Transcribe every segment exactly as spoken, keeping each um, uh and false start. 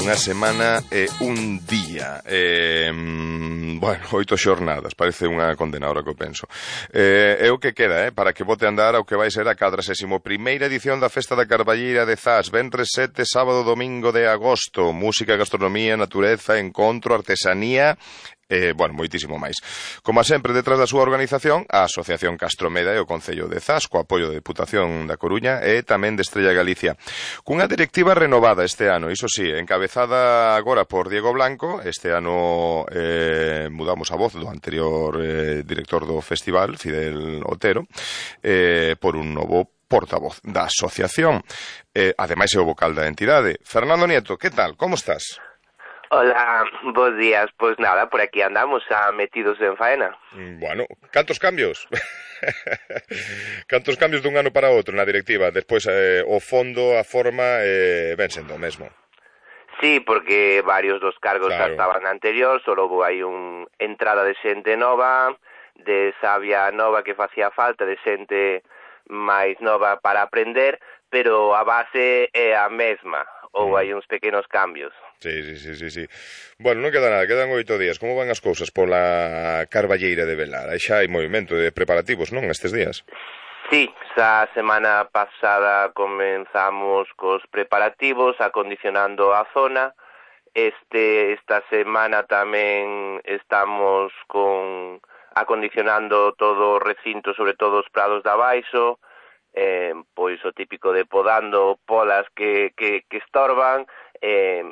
unha semana e un día. Eh, bueno, oito xornadas, parece unha condena ahora que o penso. Eh, é o que queda, eh, para que bote a andar ao que vai ser a cuadragésima primeira edición da Festa da Carballeira de Zas, venres sete, sábado, domingo de agosto. Música, gastronomía, natureza, encontro, artesanía... Eh, bueno, moitísimo máis. Como sempre, detrás da súa organización, a Asociación Castromeda e o Concello de Zas, co apoio da Deputación da Coruña e tamén de Estrella Galicia. Cunha directiva renovada este ano, iso sí, encabezada agora por Diego Blanco. Este ano eh, mudamos a voz do anterior eh, director do festival, Fidel Otero, eh, por un novo portavoz da asociación. Eh, ademais é o vocal da entidade. Fernando Nieto, que tal? Como estás? Hola, bons días. Pois nada, por aquí andamos a metidos en faena. Bueno, cantos cambios? Cantos cambios dun ano para outro na directiva? Despois eh, o fondo, a forma, eh, ven sendo o mesmo. Sí, porque varios dos cargos claro. estaban anterior, solo houve aí un entrada de xente nova, de sabia nova que facía falta, de xente máis nova para aprender, pero a base é a mesma, ou mm. hai uns pequenos cambios. Sí, sí, sí, sí, sí. Bueno, non queda nada, quedan oito días. Como van as cousas pola Carballeira de Velar? Aí xa hai movimento de preparativos, non, estes días? Sí, xa semana pasada comenzamos cos preparativos, acondicionando a zona. Este, esta semana tamén estamos con acondicionando todo o recinto, sobre todo os prados de abaixo, eh, pois o típico de podando polas que, que, que estorban, eh,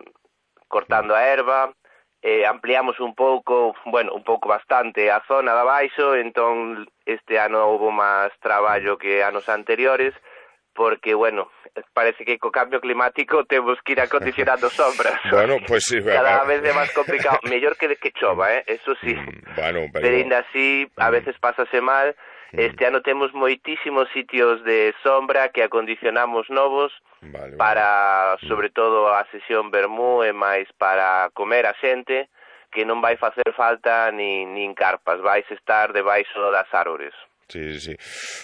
cortando a erva, eh, ampliamos un pouco, bueno, un pouco bastante a zona de abaixo, entón este ano houve máis traballo que anos anteriores, porque, bueno, parece que co cambio climático temos que ir acondicionando sombras. Bueno, pues sí. Cada vez é máis complicado. Mellor que, que chova, eh? Eso sí. Mm, bueno, pero... pero ainda así, a veces pásase mal. Este ano temos moitísimos sitios de sombra que acondicionamos novos, vale, para, vale. sobre todo, a sesión vermú e máis para comer a xente, que non vai facer falta nin, nin carpas, vais estar debaixo das árbores. Sí, sí, sí.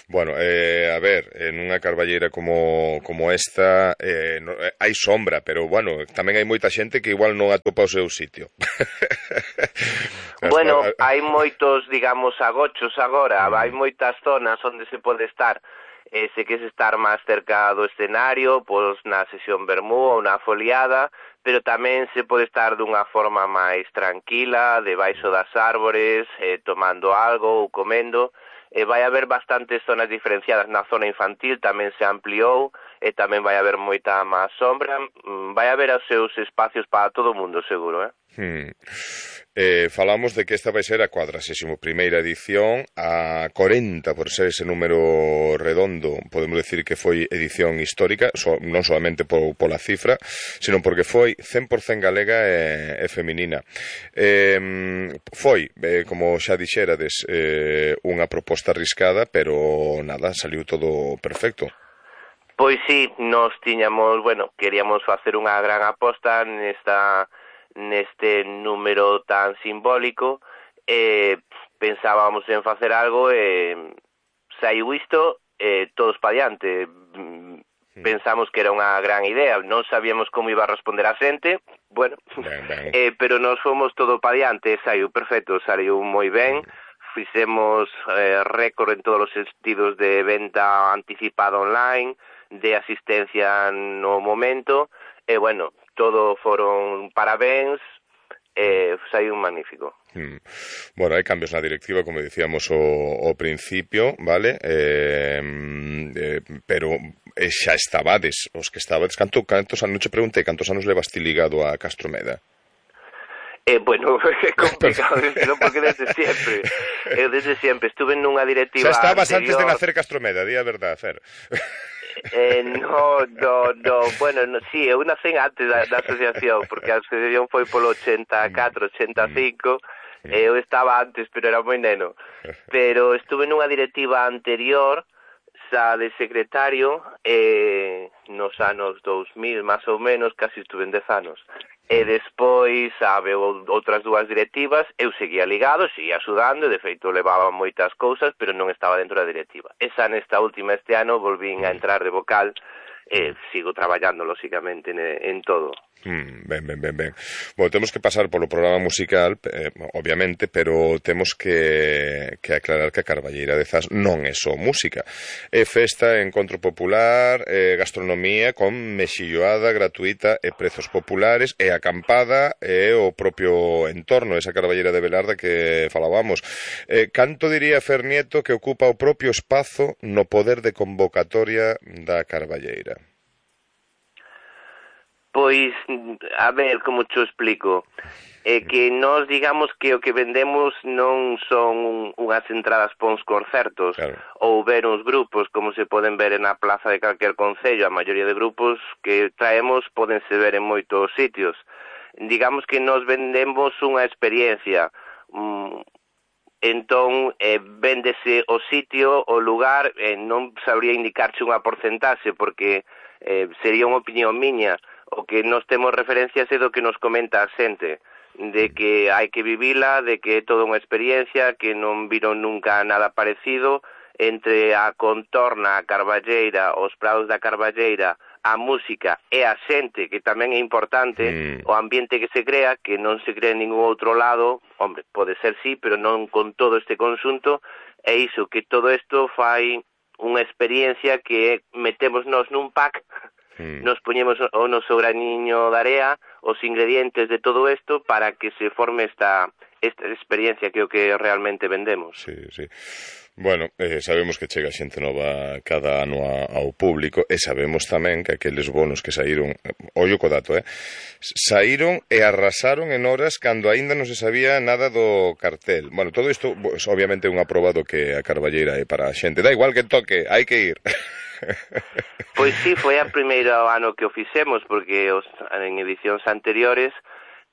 Bueno, eh, a ver, en unha carballeira como, como esta eh, no, eh, hai sombra, pero, bueno, tamén hai moita xente que igual non atopa o seu sitio. Bueno, hai moitos, digamos, agochos agora, mm. hai moitas zonas onde se pode estar. Eh, se queres estar máis cerca do escenario, pois na sesión vermú ou na foliada, pero tamén se pode estar dunha forma máis tranquila, debaixo das árbores, eh, tomando algo ou comendo. E vai haber bastantes zonas diferenciadas. Na zona infantil tamén se ampliou e tamén vai haber moita máis sombra. Vai haber os seus espacios para todo o mundo, seguro, eh? Hmm. Eh, falamos de que esta vai ser a cuadragésima primeira edición, a corenta por ser ese número redondo. Podemos decir que foi edición histórica, so, non solamente po, pola cifra, sino porque foi cen por cento galega e, e feminina. Eh, foi, eh, como xa dixerades, eh, unha proposta arriscada, pero nada, saliu todo perfecto. Pois sí, nos tiñamos, bueno, queríamos facer unha gran aposta nesta neste número tan simbólico, eh, pensábamos en facer algo e eh, saiu isto, eh, todos pa diante. Pensamos que era unha gran idea, non sabíamos como iba a responder a xente, bueno, ben, ben. Eh, pero nos fomos todo pa diante, saiu perfecto, saiu moi ben, fixemos eh, récord en todos os sentidos de venta anticipada online, de asistencia no momento, e eh, bueno, todo foron parabéns, eh, saiu un magnífico. Hmm. Bueno, hai cambios na directiva, como dicíamos o, o principio, vale? Eh, eh, pero eh, xa estabades, os que estabades, canto, cantos anos, te preguntei, cantos anos levaste ligado a Castromeda? Eh, bueno, é complicado decirlo porque desde sempre, eu desde sempre estuve nunha directiva xa estabas anterior... antes de nacer Castromeda, di a verdade, Fer. Eh, no, no, no, bueno, no, sí, eu nacen antes da, da asociación, porque a asociación foi polo ochenta e catro, ochenta e cinco, e eu estaba antes, pero era moi neno. Pero estuve nunha directiva anterior, xa de secretario, eh, nos anos dous mil, máis ou menos, casi estuve en dez anos. E despois, sabe, outras dúas directivas, eu seguía ligado, seguía axudando, e de feito levaba moitas cousas, pero non estaba dentro da directiva. Esa nesta última este ano volvín a entrar de vocal, e sigo traballando, lóxicamente, en, en todo. Mm, ben, ben, ben, ben. Bueno, temos que pasar polo programa musical, eh, obviamente, pero temos que, que aclarar que a Carballeira de Zas non é só música. É festa, encontro popular, é gastronomía con mexilloada gratuita e prezos populares, e acampada e o propio entorno, esa Carballeira de Velarda que falábamos. Eh, canto diría Fer Nieto que ocupa o propio espazo no poder de convocatoria da Carballeira? Pois, a ver, como te explico, é que nós digamos que o que vendemos non son unhas entradas para uns concertos, claro, ou ver uns grupos, como se poden ver na plaza de calquer concello. A maioría de grupos que traemos podense ver en moitos sitios. Digamos que nós vendemos unha experiencia, um, entón eh, véndese o sitio, o lugar, eh, non sabría indicarche unha porcentaxe, porque eh, sería unha opinión miña. O que nos temos referencias é do que nos comenta a xente, de que hai que vivila, de que é toda unha experiencia, que non viron nunca nada parecido, entre a contorna, a Carballeira, os prados da Carballeira, a música e a xente, que tamén é importante, mm. o ambiente que se crea, que non se crea en ningún outro lado, hombre, pode ser sí, pero non con todo este conxunto, é iso, que todo isto fai unha experiencia que metemos nos nun pack, mm. nos poñemos o noso graniño de area, os ingredientes de todo isto para que se forme esta, esta experiencia que é o que realmente vendemos. Sí, sí. Bueno, eh, sabemos que chega xente nova cada ano a, ao público e sabemos tamén que aqueles bonos que saíron, ollo co dato, eh, saíron e arrasaron en horas cando aínda non se sabía nada do cartel. Bueno, todo isto, pues, obviamente, é un aprobado que a Carballeira é para a xente. Da igual que toque, hai que ir. Pois sí, foi a primeiro ano que o fixemos, porque os, en edicións anteriores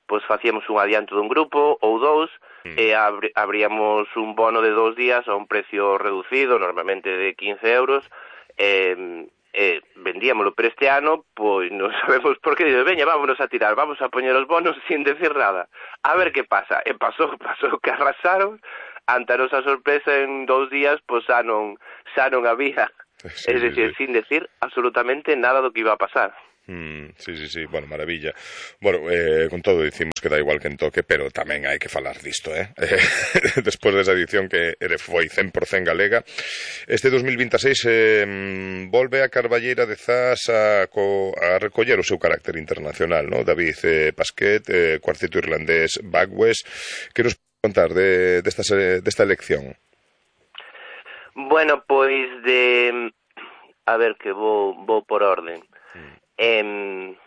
pois facíamos un adianto dun grupo ou dous, mm. e abri, abríamos un bono de dous días a un precio reducido, normalmente de quince euros, e, e vendíamoslo. Pero este ano, pois non sabemos por que, digo, veña, vámonos a tirar, vamos a poñer os bonos sin decir nada, a ver que pasa. E pasou, pasou que arrasaron, ante a nosa sorpresa, en dous días, pois xa non, xa non había, sí, es decir, sí, sí. sin decir absolutamente nada do que iba a pasar. Mm, sí, sí, sí, bueno, maravilla. Bueno, eh, con todo dicimos que da igual que en toque, pero tamén hai que falar disto, eh? eh despois desa edición que foi cen por cen galega, este dos mil veintiséis eh, volve a Carballeira de Zas a, co, a recoller o seu carácter internacional, ¿no? David eh, Pasquet, eh, cuarteto irlandés Bagwes, que nos pode contar de, desta, desta elección? Bueno, pois de... A ver, que vou, vou por orden. Mm. Eh,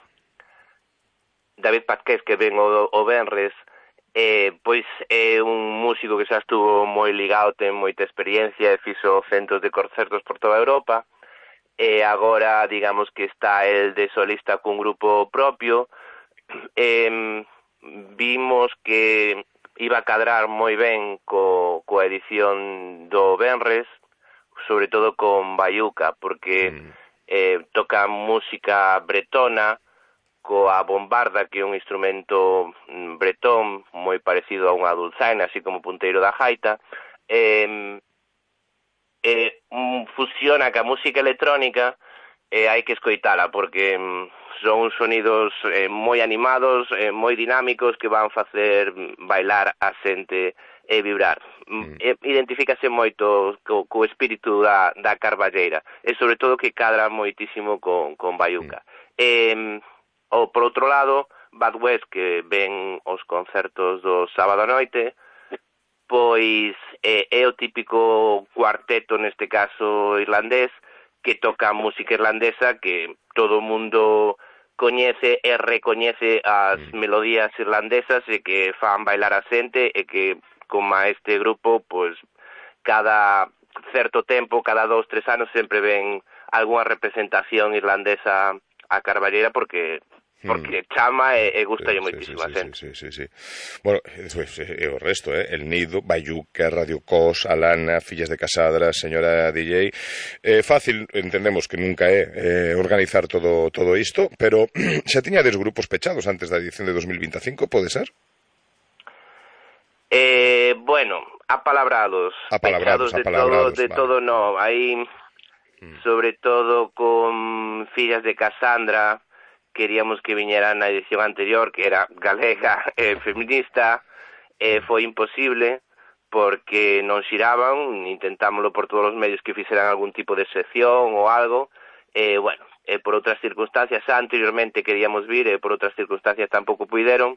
David Pasquet, que ven o, o Benres, eh, pois é un músico que xa estuvo moi ligado, ten moita experiencia e fixo centos de concertos por toda Europa, e agora digamos que está el de solista cun grupo propio. Eh, vimos que iba a cadrar moi ben co, coa edición do Benres, sobre todo con Bayuca, porque mm. eh, toca música bretona, coa bombarda, que é un instrumento bretón moi parecido a unha dulzaina, así como punteiro da gaita, eh, eh, fusiona ca música electrónica, e eh, hai que escoitala, porque son sonidos eh, moi animados, eh, moi dinámicos, que van facer bailar a xente e vibrar. Mm. Identifícase moito co, co espírito da, da Carballeira, e sobre todo que cadra moitísimo con, con Bayuca. Mm. Eh, ou, por outro lado, Bad West, que ven os concertos do sábado a noite, pois eh, é o típico cuarteto, neste caso irlandés, que toca música irlandesa, que todo o mundo coñece e recoñece as mm. melodías irlandesas, e que fan bailar a xente, e que como a este grupo, pois, cada certo tempo, cada dous, tres anos, sempre ven algunha representación irlandesa a Carballeira, porque porque chama e, e gusta sí, moitísimo a sí, xente. Sí, sí, sí, sí. Bueno, e o resto, eh? El Nido, Bayuca, Radio Cos, Alana, Fillas de Casadra, Señora D J. Eh, fácil, entendemos que nunca é eh, organizar todo todo isto, pero xa tiñades grupos pechados antes da edición de dos mil veinticinco, pode ser? Eh, bueno, apalabrados, apalabrados, pechados de apalabrados, todo, de vale. todo no, hai mm. sobre todo con Fillas de Casandra, queríamos que viñeran na edición anterior, que era galega e eh, feminista, eh, foi imposible, porque non xiraban, intentámoslo por todos os medios que fixeran algún tipo de sección ou algo, e, eh, bueno, eh, por outras circunstancias, anteriormente queríamos vir, e eh, por outras circunstancias tampouco puideron,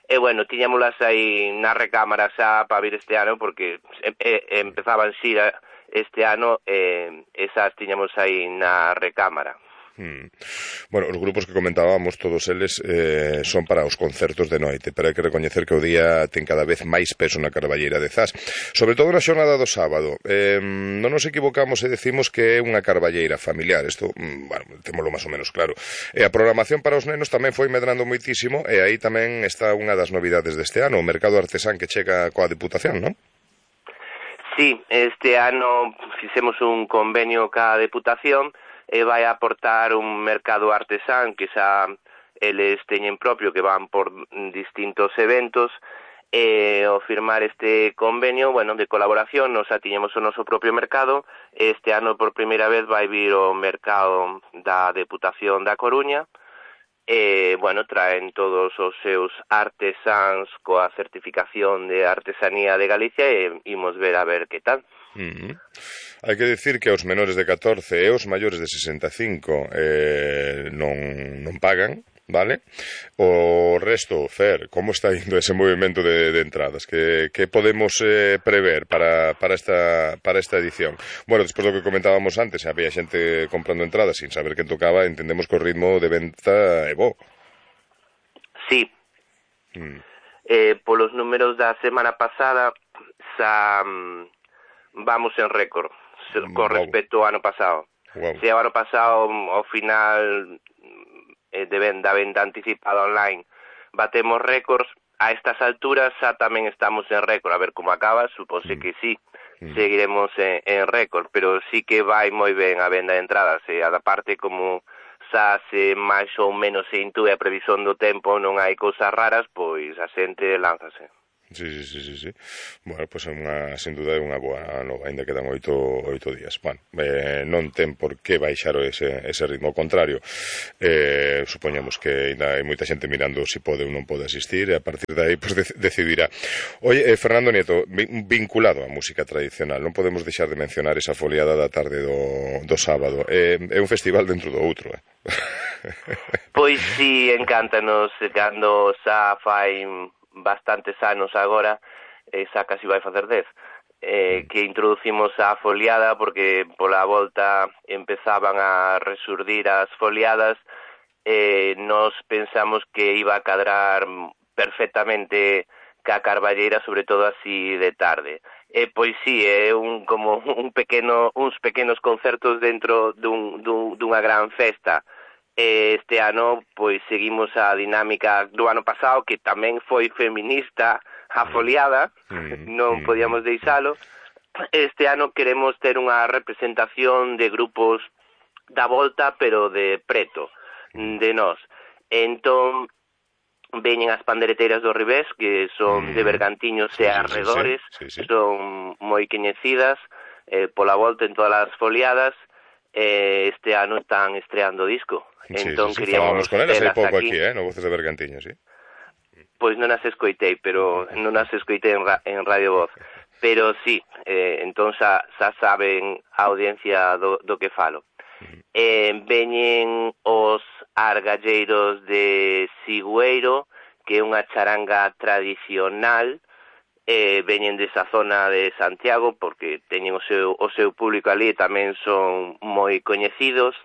e, eh, bueno, tiñámolas aí na recámara xa para vir este ano, porque eh, eh, empezaban xira este ano, e eh, esas tiñamos aí na recámara. Hmm. Bueno, os grupos que comentábamos, todos eles eh, son para os concertos de noite, pero hai que recoñecer que o día ten cada vez máis peso na Carballeira de Zas, sobre todo na xornada do sábado. Eh, non nos equivocamos e decimos que é unha carballeira familiar, isto, bueno, témolo máis ou menos claro. E a programación para os nenos tamén foi medrando moitísimo, e aí tamén está unha das novidades deste ano, o mercado artesán que chega coa Deputación, non? Sí, este ano fixemos un convenio ca Deputación, e vai aportar un mercado artesán que xa eles teñen propio, que van por distintos eventos, e ao firmar este convenio, bueno, de colaboración, nos atiñemos o noso propio mercado. Este ano por primeira vez vai vir o mercado da Deputación da Coruña, e, bueno, traen todos os seus artesáns coa certificación de artesanía de Galicia e imos ver a ver que tal. Uh-huh. Hai que dicir que os menores de catorce e os maiores de sesenta e cinco eh, non, non pagan, vale? O resto, Fer, como está indo ese movimento de, de entradas? Que, que podemos eh, prever para, para, esta, para esta edición? Bueno, despois do que comentábamos antes, había xente comprando entradas sin saber quen tocaba, entendemos que o ritmo de venta é bo. Sí. Mm. Eh, polos números da semana pasada, xa... vamos en récord con respecto ao ano pasado. Wow. Se o ano pasado, ao final eh, de venda, venda anticipada online, batemos récords, a estas alturas xa tamén estamos en récord. A ver como acaba, supose mm. que sí, mm. seguiremos en, en récord, pero sí que vai moi ben a venda de entradas, e a da parte como xa se máis ou menos se intúe a previsión do tempo, non hai cousas raras, pois a xente lánzase. Sí, sí, sí, sí, sí. Bueno, pois pues, unha, sin duda é unha boa nova, ainda quedan oito, oito días. Bueno, eh, non ten por que baixar ese, ese ritmo, ao contrario. Eh, supoñamos que ainda hai moita xente mirando se si pode ou non pode asistir, e a partir de aí pues, de, decidirá. Oye, eh, Fernando Nieto, vinculado á música tradicional, non podemos deixar de mencionar esa foliada da tarde do, do sábado. Eh, é un festival dentro do outro, eh? Pois sí, encántanos cando xa fai bastantes anos agora, eh, xa casi vai facer dez, eh, que introducimos a foliada, porque pola volta empezaban a resurdir as foliadas, eh, nos pensamos que iba a cadrar perfectamente ca Carballeira, sobre todo así de tarde. E pois sí, é un como un pequeno uns pequenos concertos dentro dun, dun, dunha gran festa. Este ano, pois, seguimos a dinámica do ano pasado, que tamén foi feminista a foliada, non podíamos deixalo. Este ano queremos ter unha representación de grupos da volta, pero de preto, de nós. Entón, veñen as pandereteiras do Ribés, que son de Bergantiños e arredores, sí, sí, sí, sí. Son moi coñecidas eh, pola volta en todas as foliadas. Eh, este ano están estreando disco. Entón, sí, sí, sí, falábamos con elas hai pouco aquí, aquí eh, no Voces de Bergantiño, sí. Pois non as escoitei, pero non as escoitei en, ra en Radio Voz. Pero sí, eh, entón xa, xa saben a audiencia do, do que falo. Eh, veñen os argalleiros de Sigüeiro, que é unha charanga tradicional, eh, veñen desa zona de Santiago, porque teñen o seu, o seu público ali e tamén son moi coñecidos.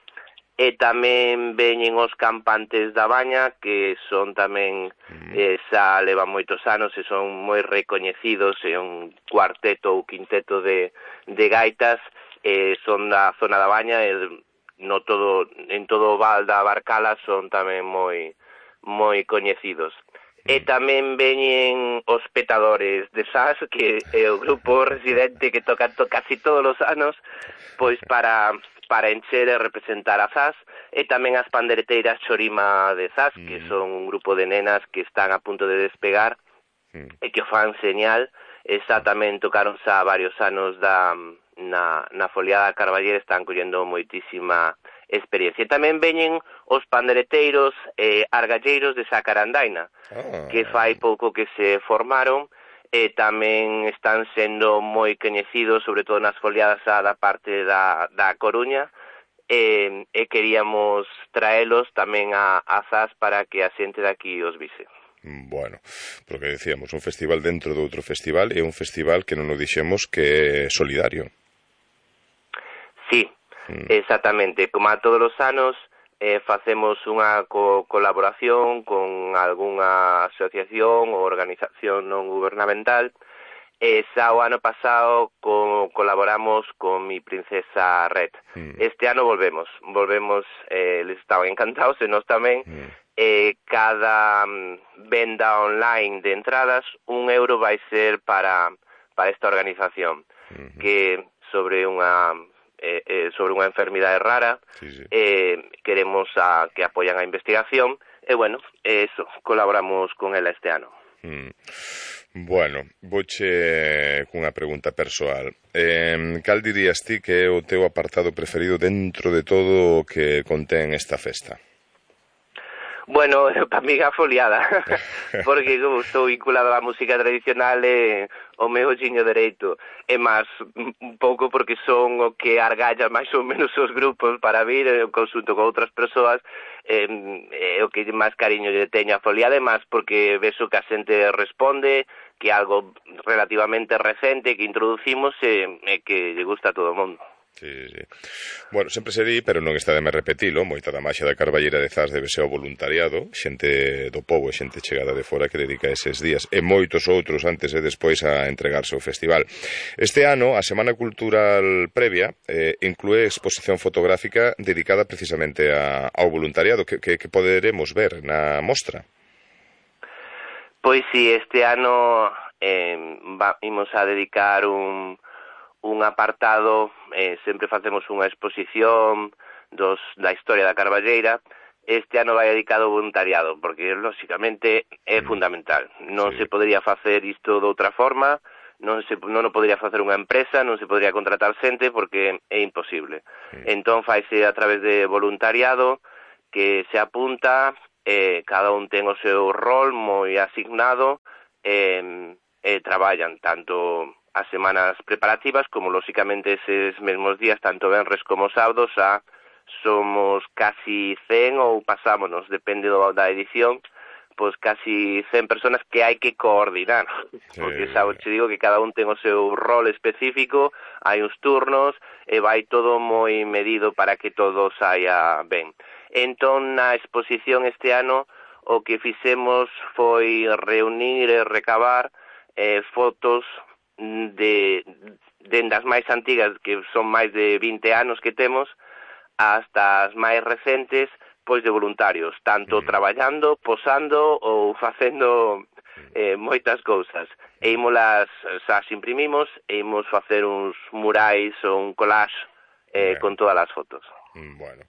E tamén veñen os Campantes da Baña, que son tamén, eh, xa levan moitos anos e son moi recoñecidos, é un cuarteto ou quinteto de, de gaitas, eh, son da zona da Baña, e no todo, en todo o Val da Barcala son tamén moi, moi coñecidos. E tamén veñen os Petadores de Zas, que é o grupo residente que toca to casi todos os anos, pois para... para encher e representar a Zas, e tamén as pandereteiras Chorima de Zas, mm. que son un grupo de nenas que están a punto de despegar, mm. e que o fan señal, e xa tamén tocaron xa varios anos da, na, na foliada Carballera están collendo moitísima experiencia. E tamén veñen os pandereteiros e eh, argalleiros de Sacarandaina, oh. que fai pouco que se formaron, e tamén están sendo moi coñecidos, sobre todo nas foliadas da parte da, da Coruña, e, e queríamos traelos tamén a, a Zas para que a xente daqui os vise. Bueno, porque decíamos, un festival dentro de outro festival, e un festival que non o dixemos que é solidario. Sí, mm. exactamente. Como a todos os anos, eh, facemos unha co colaboración con algunha asociación ou organización non gubernamental. E xa o ano pasado co colaboramos con Mi Princesa Red. Mm. Este ano volvemos, volvemos, eh, les estaban encantados, e nós tamén. Mm. Eh, cada um, venda online de entradas, un euro vai ser para, para esta organización, uh-huh. que sobre unha eh, eh, sobre unha enfermidade rara, sí, sí. Eh, queremos a, que apoyan a investigación, e bueno, eso, colaboramos con ela este ano. Mm. Bueno, vouche cunha pregunta persoal. Eh, cal dirías ti que é o teu apartado preferido dentro de todo o que contén esta festa? Bueno, para mí a foliada, porque como estou vinculado á música tradicional e o meu olliño dereito, e máis un pouco porque son o que argalla máis ou menos os grupos para vir, eu consulto con outras persoas, e, e o que máis cariño lle teño a foliada, e máis porque vexo que a xente responde, que é algo relativamente recente que introducimos e, e que lle gusta a todo o mundo. Sí, sí. Bueno, sempre se di, pero non está de me repetilo, moita da maxia da Carballera de Zas debe ser o voluntariado, xente do pobo e xente chegada de fora que dedica eses días, e moitos outros antes e despois a entregarse ao festival. Este ano, a Semana Cultural previa eh, inclúe exposición fotográfica dedicada precisamente a, ao voluntariado, que, que, que poderemos ver na mostra. Pois si, este ano eh, va, imos a dedicar un... un apartado, eh, sempre facemos unha exposición dos, da historia da Carballeira. Este ano vai dedicado ao voluntariado, porque, lóxicamente, é fundamental. Non sí. se podría facer isto de outra forma, non se non o podría facer unha empresa, non se podría contratar xente, porque é imposible. Sí. Entón, faise a través de voluntariado, que se apunta, eh, cada un ten o seu rol moi asignado, e eh, eh, traballan tanto as semanas preparativas, como lóxicamente eses mesmos días, tanto venres como sábados, a somos casi cen ou pasámonos, depende do, da edición, pois casi cen personas que hai que coordinar, sí. porque xa te digo que cada un ten o seu rol específico, hai uns turnos, e vai todo moi medido para que todo saia ben. Entón, na exposición este ano, o que fixemos foi reunir e recabar eh, fotos de dendas máis antigas, que son máis de vinte anos que temos, hasta as máis recentes, pois de voluntarios, tanto mm. traballando, posando ou facendo eh, moitas cousas. E ímolas, xa as imprimimos, e imos facer uns murais ou un collage eh, con todas as fotos. Bueno,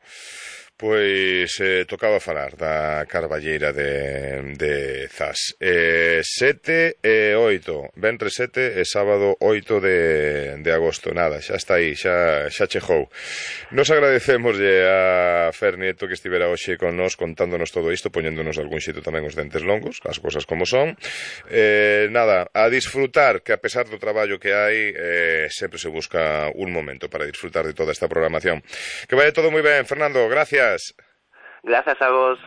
pois eh, tocaba falar da Carballeira de, de Zas. Eh, sete e oito, ventre sete e sábado oito de, de agosto. Nada, xa está aí, xa, xa chegou. Nos agradecemoslle a Fer Nieto que estivera hoxe con nós contándonos todo isto, poñéndonos algún xito tamén os dentes longos, as cosas como son. Eh, nada, a disfrutar, que a pesar do traballo que hai, eh, sempre se busca un momento para disfrutar de toda esta programación. Que vaya todo moi ben, Fernando, gracias. Gracias a vos.